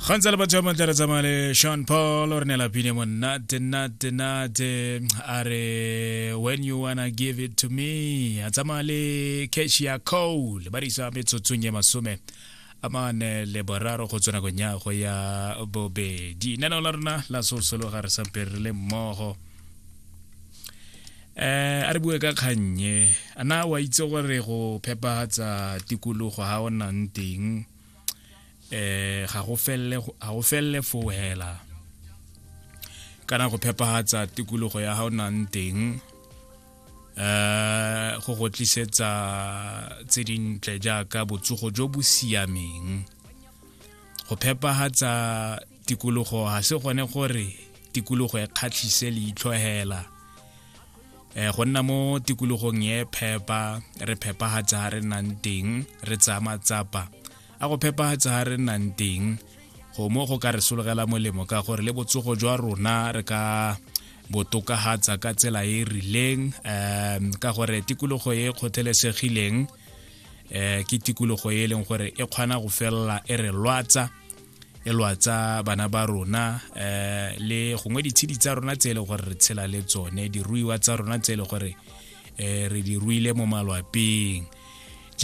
Gantsa le batho ba mantle re tsamaya le Sean Paul o re neela pine monate nate nate a re when you wanna give it to me a tsamaya le Keshia Cole ba risa metsotsong ye masome a mane le boraro go tswa nakong ya go ya bobedi lenaneo la rona la sosologa re sampe re le mmogo eh a re bue ka kgannye a na wa itse gore go phepagatsa tikologo ga o nnang teng eh ga go felle ga go felle foo hela kana go phepagatsa tikologo ya ga o nnang teng eh go go tlisetsa tse dintle jaaka botsogo jo bo siameng go phepagatsa tikologo ga se gone gore tikologo e kgatlhise leitlho hela eh go nna mo tikologong e phepa re phepagatsa ga re nnang teng re tsaya matsapa a go phepagatsa ga re nnang teng go mo go ka re sologela molemo ka gore le botsogo jwa rona re ka botokagatsa ka tsela e e rileng um ka gore tikologo e kgothelesegileng um ke tikologo e e leng gore e kgona go felela e re lwatsa e lwatsa bana ba rona um le gongwe ditshedi tsa rona tse e leng gore re tshela le tsone diruiwa tsa rona tse e leng gore um re di ruile mo malwapeng.